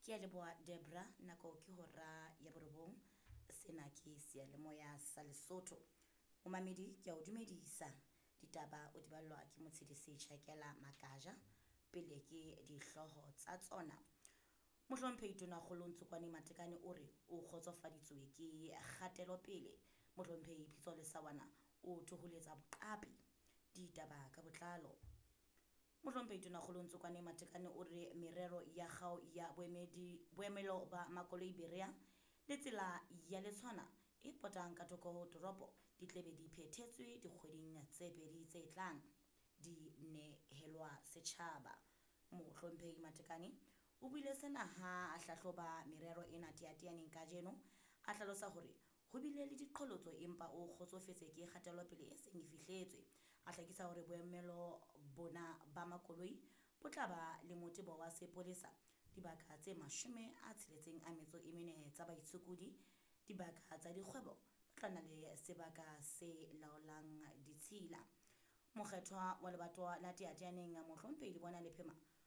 Ke a leboha Debra, nako ke hora ya borobong. Sena ke seyalemoya sa Lesotho. Momamedi ke a o dumedisa. Ditaba o di ballwa ke Motshedisi Tjhakela Makaja. Pele ke dihlooho tsa tsona. Mohlomphehi Tonakgolo Ntsokwane Matekane o re o kgotsofaditswe ke kgatelopele. Mohlomphehi Pitso Lesawana o thoholetsa boqapi. Ditaba ka botlalo. Mohlomphehi Tonakgolo Ntsokwane Matekane o re merero ya kgao ya boemedi boemelo ba makoloi Berea le tsela ya Letshwana e potang ka thoko ho toropo di tlebe di phethetswe dikgweding tse pedi tse tlang di nehelwa setjhaba. Mohlomphehi Matekane o buile sena ha a hlahloba merero ena teateaneng kajeno, a hlalosa hore ho bile le diqholotso empa o kgotsofetse ke kgatelopele e seng e fihletswe. A hlakisa hore boemelo bona ba makoloi bo tla ba le motebo wa sepolesa, dibaka tse 64 tsa baitshokodi, dibaka tsa dikgwebo, bo tla na le sebaka se laolang ditshila. Mokgethwa wa lebatowa la Teateaneng Mohlomphehi Lebona Lephema